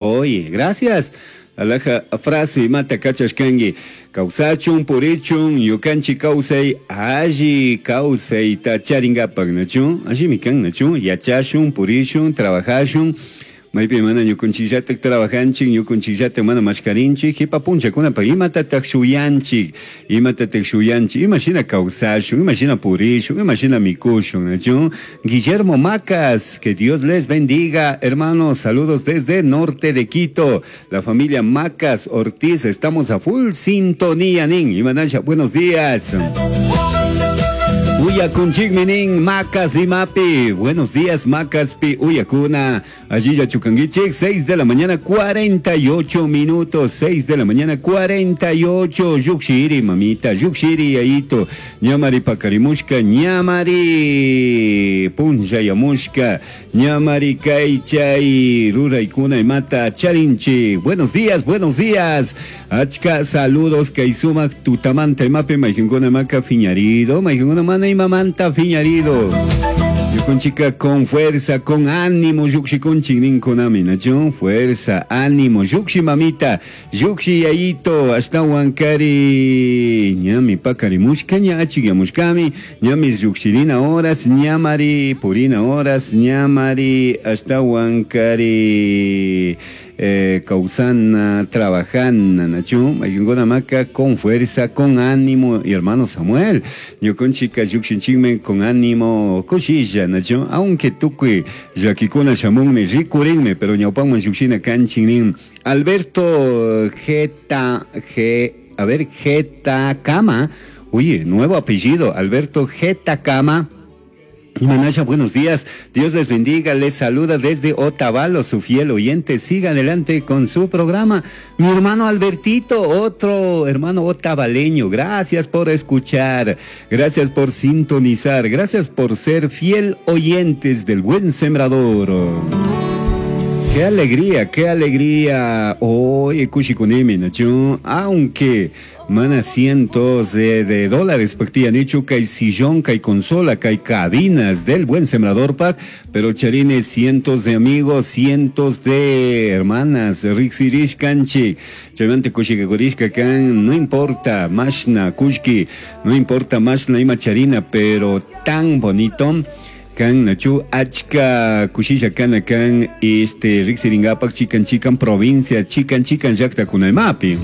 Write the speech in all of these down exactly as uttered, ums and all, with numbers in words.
Oye, gracias. Alhaja frase imata kachashkanki. Kawsachun, purichun, ñukanchik kawsay, alli kawsayta charinkapak, nachu? Allimi kan, nachu? Yachashun, purishun, trabajashun. Maypi mana ñukunchikllatak trabajanchik, ñukunchikllatak mana mashkarinchik, qipa punchakunapaq imatataq shuyanchik, imatataq shuyanchik, imashina kawsashun, imashina purishun, imashina mikushun, nachu? Guillermo Macas, que Dios les bendiga, hermanos, saludos desde norte de Quito, la familia Macas Ortiz, estamos a full sintonía, nin, Imanasha, buenos días. Uyakunchikmi Macas imapi. Buenos días, Macas pi uyakuna. Allí chukanguichik, seis de la mañana, cuarenta y ocho minutos. seis de la mañana, cuarenta y ocho. Llukshiri, mamita, llukshiri, yayito. Ñamari pakarimushka, ñamari punllayamushka, ñamari kaychay ruraykuna imata charinchi. Buenos días, buenos días. Achka saludos kay sumak tutamanta imapi mayqinkuna maka fiñarido, mayqinkuna mana imamanta fiñarido. Ñukunchika con fuerza, con ánimo, llukshikunchik ninkunami, nachu? Fuerza, ánimo, llukshi mamita, llukshi yayito, ashtawankari, ñami pakarimushka, ña achikyamushkami, ñami llukshirina horas, ñamari purina horas, ñamari ashtawankari eh, kawsana, trabajana, nachu, mayqinkuna maka con fuerza, con ánimo, y hermano Samuel, ñukunchika llukshinchikmi con ánimo, kushilla, nachu, aunque tukuy llakikuna shamunmi, rikurinmi, pero ñawpanman llukshina kanchik nin. Alberto Geta, G, a ver, Kama, oye, nuevo apellido, Alberto Kama. Manasha, buenos días. Dios les bendiga. Les saluda desde Otavalo, su fiel oyente. Siga adelante con su programa. Mi hermano Albertito, otro hermano otavaleño. Gracias por escuchar. Gracias por sintonizar. Gracias por ser fiel oyentes del Buen Sembrador. Qué alegría, qué alegría. Oye, kushikunimi, nachu. Aunque mana cientos de, de dólares nichu kay sillón, kay consola, kay cabinas del Buen Sembrador Pack, pero charini cientos de amigos, cientos de hermanas, riksirishkanchik, chaymanta kushikakurishka kan, no importa, mashna, kullki, no importa mashna ima charina, pero tan bonito kan nachu achka kushisha kana kan este riksiringapak chikan chikan provincia, chikan chikan llaqtakunaymapi.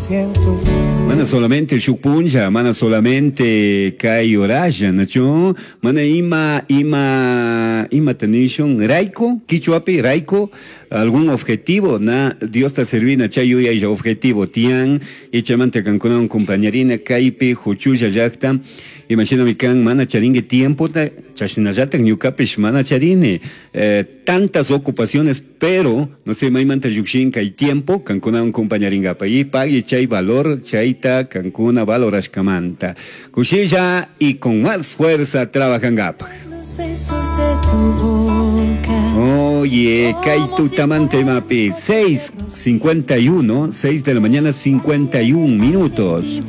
Mana solamente shuk punlla, mana solamente kay horalla, nachu, mana ima ima ima tanishun rayku, kichwapi rayku, algún objetivo, na Dios ta servina chay yuyay objetivo tiyan, y chaymanta kankunawan compañerina kaypi huchulla llaqta, imagíname kan mana charinki tiempo ta chashnallatak ñukapish mana charini eh, tantas ocupaciones, pero no sé maymanta llukshin kay tiempo kankunawan compañeringapa y pagui chay valor chayta kankuna valorashkamanta kushilla y con más fuerza trabajankapaj. Los besos de tu boca. Oye, kay tutamanta imapi, seis cincuenta y uno, seis de la mañana, cincuenta y uno minutos.